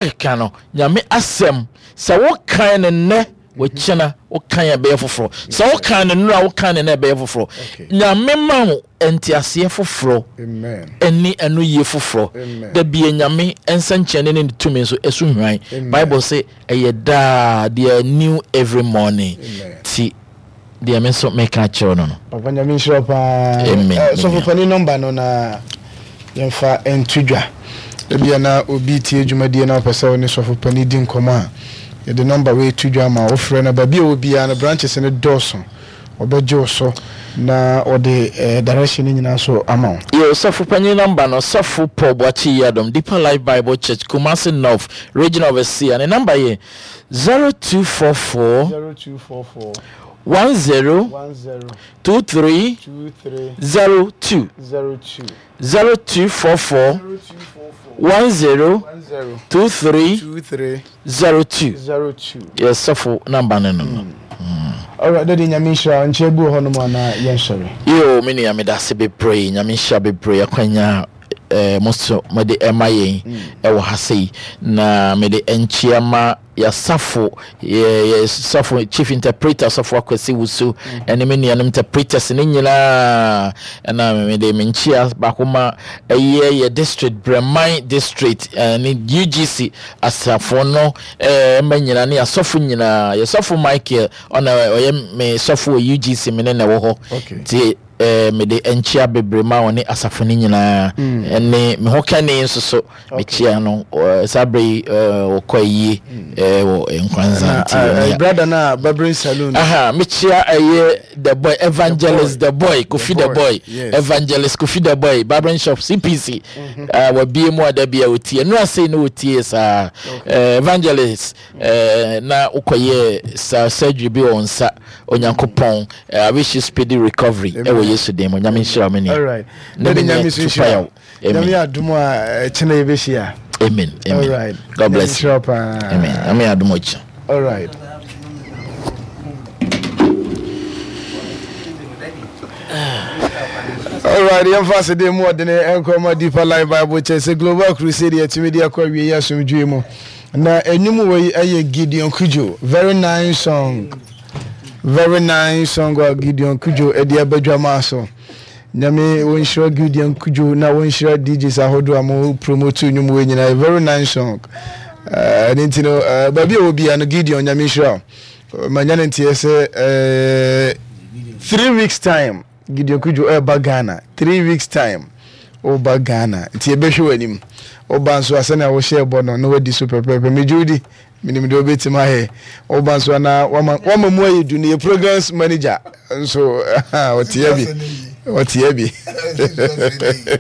Keka no, Nyame asɛm, sɛ wo kan no nnɛ, wokyena wo kan a ɛbɛyɛ foforɔ. Sɛ wo kan no nnora, wo kan no nnɛ ɛbɛyɛ foforɔ. Nyame ma wo nteaseɛ foforɔ ɛne ɛno yie foforɔ. Da bia Nyame nsɛnkyerɛnne ne ne tumi nso ɛso hwan. Bible se ɛyɛ daa, they are new every morning. Ti deɛ me nso meka akyerɛ wo no no. Papa Nyame nhyira wo paa. Amen. Eh, sɔfo panin nɔmba no na yɛmfa nto dwa. Ebia na obi tie dwumadie na ɔpɛ sɛ ɔne sɔfo panin di nkɔmmɔ a, yɛde nɔmba wei to dwa ma wofrɛ no baabi a ɔwɔ biara no branches no dɔɔso. Ɔbɛgye wo so na ɔde eh, direction no nyinaa so ama wo. Yo, sɔfo panyin nɔmba no, Sɔfo Paul Boakye Yiadom, Deeper Life Bible Church, Kumasi North, Regional Overseer. Ne nɔmba yɛ 0244 0244 10 10 23 23 02 02 0244 0244 10 10 23 23 02. 02. Yɛ sɔfo namba no no no. Alright, Daddy Nyame nhyira wo. Nkyɛ bi wɔ hɔ nom anaa yɛnsɔre. Yoo me nua medase bebree Nyame nhyira bebree akwanya eh, mo so mode ɛma yɛn ɛwɔ ha sei na mede nkyia ma yɛasafo yɛ yɛ sɔfo chief interpreter sɔfo Akwasi Wusu ɛne me nuanom interpreters ne nyinaa ɛna mede me nkyia baako ma ɛyɛ yɛ district Brɛman district ɛne UGC asafo no ɛma nyinaa ne asɔfo nyinaa yɛ sɔfo Michael ɔna ɔyɛ me sɔfo wɔ UGC me ne na ɛwɔ hɔ nti Eh, mede nkyea bebree ma wɔne asafo no nyinaa mm. ɛne me ho kani nso so mekyia no saa berɛ yi wɔkɔ ayie mm. wɔ Nkranza nti brother na barbering saloon aha mekyia ɛyɛ the boy evangelist the boy Kofi the boy evangelist Kofi the boy barbering shop CPC mm-hmm. wabie mu ada bi a wɔtie ɛno ase ne wɔtie saa evangelist na wokɔyɛ saa surgery bi wɔ nsa Onyankopɔn I wish you speedy recovery ɛwɔ Yesu din mu. Nyame nhyira wo me nua. Ne me nua Tupayaw. Amen. Nyame adom a ɛkyena yɛbɛhyia. Amen. Amen. Alright. God bless you. Amen. Nyame adom ɔkyena. Alright. Alright, yɛmfa asede mu ɔdene nkɔma Deeper Life Bible Church sɛ Global Crusade yɛtumi de akɔ awie yɛ asomdwoe mu. Na enwom wei ɛyɛ Gideon Cudjoe very nice song very nice song a Gideon Cudjoe ɛde aba dwamaa so. Nyame wɔnhyira Gideon Cudjoe na wɔnhyira DJs ahodoɔ a mo promote nnwom wei nyinaa very nice song. Ɛne uh, nti no uh, baabi a wɔ biara no Gideon Nyame nhyira wo. Manya ne nteɛ sɛ uh, 3 weeks time Gideon Kudjo ɛreba Ghana 3 weeks time woba Ghana nti yɛbɛhwɛ w'anim woba nso a sɛnea wohyɛɛ bɔ no na wadi so pɛpɛɛpɛ megye wo di menim deɛ wobɛtumi ayɛ woba nso a na wama wama mu ayɛ du no yɛ programs manager nso ɔteɛ bi ɔteɛ bi.